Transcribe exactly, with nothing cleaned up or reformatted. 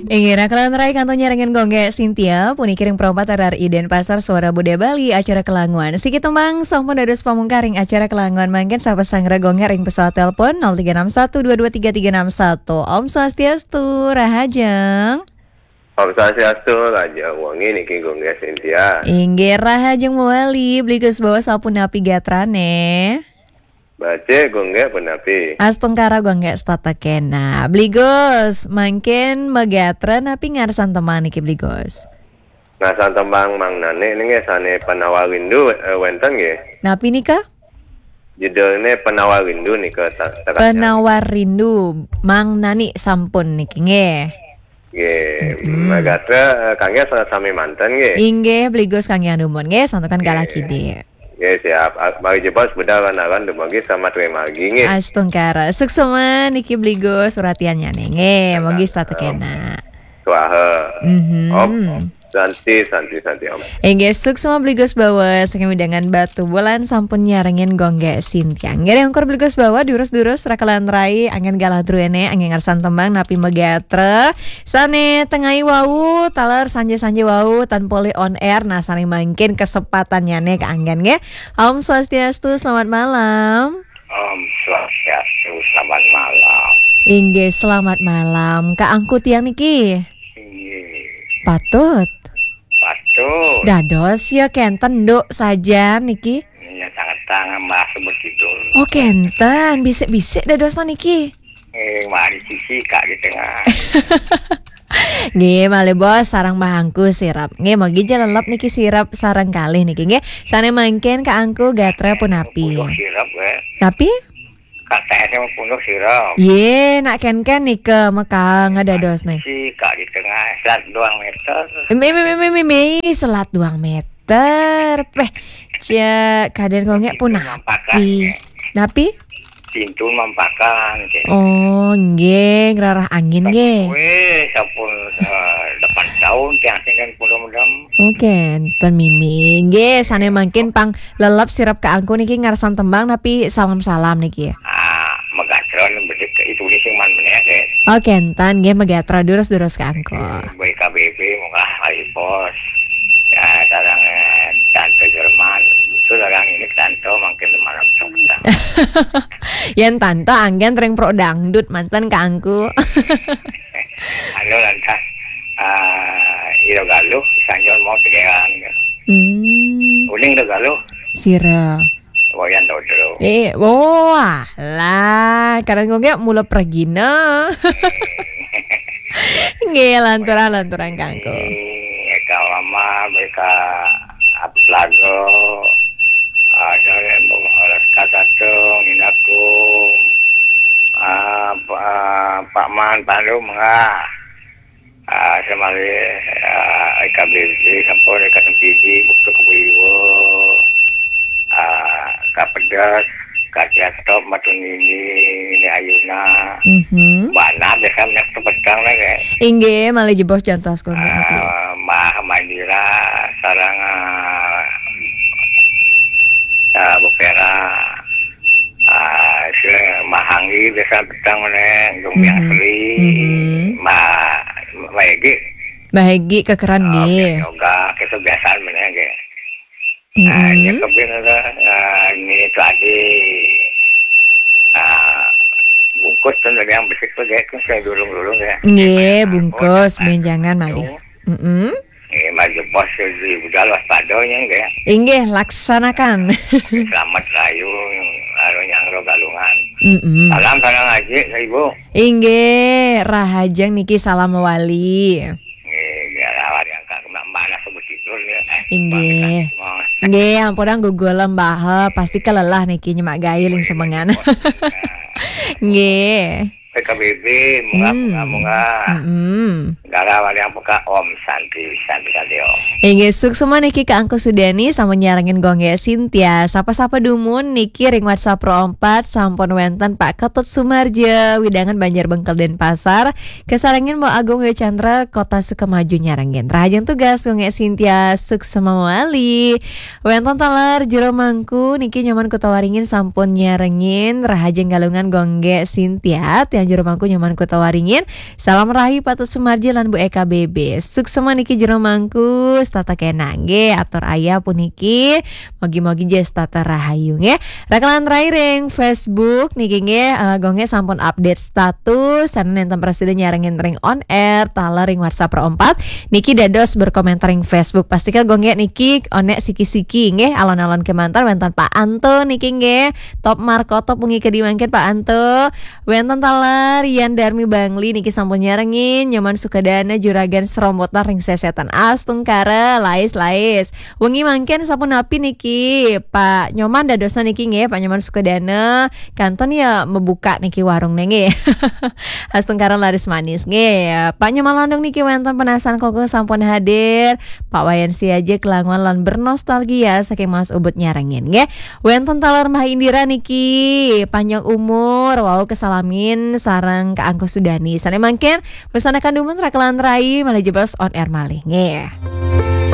Inggih, raka lan rai kantun nyarengin Gung Gé Sintia, puniki ring Pro empat R R I Denpasar, Suara Budaya Bali, acara Kelanguan. Siki tembang sampun dados pamungkaring acara Kelanguan mangkin, sapa sang raga Gung Gé ring pesawat telepon nol tiga enam satu dua dua tiga tiga enam satu. Om Swastiastu, rahajeng. Om Swastiastu, rahajeng wengi niki Gung Gé Sintia. Inggih, rahajeng mawali, Bli Gus Bawa sapunapi gatrané? Becik, Gung Gé, punapi? Astungkara, Gung Gé, setata kénak. Bli Gus, mangkin magatra napi ngarsan tembang niki, Bli Gus? Ngarsan tembang Mang Nani niki sané Penawar Rindu, eh, wénten nggih. Napi nika? Judulné Penawar Rindu nika, ta-, ta-, Penawar Rindu, Mang Nani sampun niki nggih. Nggih, Mm-mm. Magatra, eh, kanggé sa-, sami manten nggih. Inggih, Bli Gus kanggé anumun nggih, santukan galah Nggih. kidik. Nggih, siap. Ah, mari jebos budal lan aran dumugi selamat ring margi nggih. Astungkara. Suksma niki Bli Gus, uratiannyané nggih, mugi setata Om. kénak. Swaha. Mhm. Om, om. Santi, santi, santi, Om. Inggih, suksma Bli Gus Bawa, saking wewidangan Batubulan sampun nyarengin Gung Gé Sintia. Nggih, ring ungkur Bli Gus Bawa, durus-durus, raka lan rai, anggén galah druéné, anggén ngarsan tembang, napi magatra. Sané tengai wau, taler sanjé-sanjé wau, tan polih on air, nah, sané mangkin kesempatannyané kaanggén, nggih. Om Swastiastu, selamat malam. Om Swastiastu, selamat malam. Inggih, selamat malam. Kaangku tiang niki? Inggih. Patut. Patut. Dados ya kénten, Nduk, sajan niki. Iya, tangan-tangan masuk bertidur. Oh, kénten, bisik-bisik dados niki. Eh, mari sisi Kak di tengah. Nggih, malih Bos, sareng Mbah Angku sirep. Nggih, mugi ja lelep niki sirep sareng kalih niki nggih. Sané mangkin Kak Angku gatra punapi? Punduk sirep, ya. Napi? Kata S M punduk sirep. Yé, nak kén-kén nika maka ngadados nih. Si Kak di tengah, selat doang meter. Em, em, em, em, em, em, selat doang meter. Péh, cek kadén Gung Gé punapi? Mampakan, ya. Napi? Pintu mampakan, gitu. Oh, nggih, ngrarah angin, nggih. Wéh, sampun, eh, delapan tahun tiang sing kan mudah-mudahan. Oke, ten mimi. Nggih, sané mangkin pang lelep sirep Kak Angku niki ngarsan tembang napi salam-salam niki? Ah, magatra bedik ke itu ni sing man meneh, deh. Oke, ten nggih magatra durus-durus Kak Angku. B K B B, mungkah hari pos. Ya, sareng, eh, Tante Jerman. Itu sareng ini Tante mangkin malam Sabtu. Yén Tante anggén ring pro dangdut manten Kak Angku. Anu lantas, ah, ira galuh, sanjol mau tegeran. Hmm. Uning ira galuh. Sira. Wayan Dodro. Eh, wah, lah, kadang Gung Gé mula pragina. Nggih, lanturang, lanturang Kak Angku. Eka Mama, Eka Abdul Lago, ada yang mau Alaska Tatung, Inaku, ah, Pa-, Pak Man, Palu, Mengah. Ah, semali, ah, Eka B B, sampun Eka Sempidi, Buktu Kebuiwo. Ah, Kak Pedas, Kak Tiatop, Matu Nini, Nini Ayuna. Mhm. Bana biasa minyak tepetang lah, ya. Inggih, malih jebos jantos Gung Gé niki. Ah, Mbah Mandira, sareng, ah, ah, Bu Vera. Ah, si Mbah Anggi biasa petang meneh, Gung Biang Mhm. Sri. Mhm. Mbah, Mbah Egi. Mbah Egi kekeran Ah, nggih. Biasa yoga, kebiasaan meneh, nggih. Ah, Mm-mm. Ya, kebin ada, ah, ini tadi, ah, bungkus tuh dari yang besik tuh, kayak tuh saya dulung-dulung ya. Nggih, bungkus, benjangan malih. Mm-mm. Eh, maju bos di budal waspadanya, nggih. Inggih, laksanakan. Selamat rayu, anu nyangro galungan. Mm-mm. Salam, salam ngaji, Ibu. Inggih, rahajeng niki salam wali. Nggih, biar awal yang kak kena mana sebut tidur ya. Eh, Inggih. Bangsa semua. Nggih, ampun gugul mbah, pasti kelelah niki nyemak gaé ling semengan. Nggih. P K B B, munggah, Hmm. munggah, munggah. Mm-mm. Para wali ampura, Om Santi, Santi, Santi, Om. Inggih, suksma niki Kak Angku Sudani sampun nyarengin Gung Gek Sintia. Sapa-sapa dumun niki ring WhatsApp Pro empat sampun wenten Pak Ketut Sumarja, wewidangan Banjar Bengkel Denpasar, kasarengin Mbok Agung Yo Chandra, Kota Sukamaju nyarengin. Rahajeng tugas Gung Gek Sintia, suksma mawali. Wenten taler Jero Mangku niki Nyoman Kuta Waringin sampun nyarengin. Rahajeng Galungan Gung Gek Sintia, tiang Jero Mangku Nyoman Kuta Waringin. Salam rahayu Pak Ketut Sumarja lan Bu Eka B B. Suksma niki Jero Mangku, setata kenang nggih, atur ayah puniki. Mogi-mogi nggih setata rahayu nggih. Rakelan rai ring Facebook niki nggih, eh, Gung Gek sampun update status, sane nenten prasida nyarengin ring on air, taler ring WhatsApp Pro empat. Niki dados berkomentar ring Facebook. Pastika Gung Gek niki onek siki-siki nggih, alon-alon kemanten wenten Pak Anto niki nggih. Top Markotop wengi kadi mangkin Pak Anto. Wenten taler Yan Darmi Bangli niki sampun nyarengin, Nyoman Sukadana Juragan Serombotan ring Sesetan Astungkara, lais-lais. Wengi mangkin sapunapi niki Pak Nyoman dadosan niki nggih, Pak Nyoman Sukadana, kantun ya mebuka niki warung nggih. Astungkara laris manis nggih. Pak Nyoman Landung niki wenten penasaran koko sampun hadir. Pak Wayan Siaja kelangon lan bernostalgia saking Mas Ubud nyarengin nggih. Wenten taler Mbah Indira niki, panjang umur, wau kesalamin sareng Kak Angku Sudani. Sane mangkin, bersanakan dumun rakelan rai, malih jebos on air malih nggih.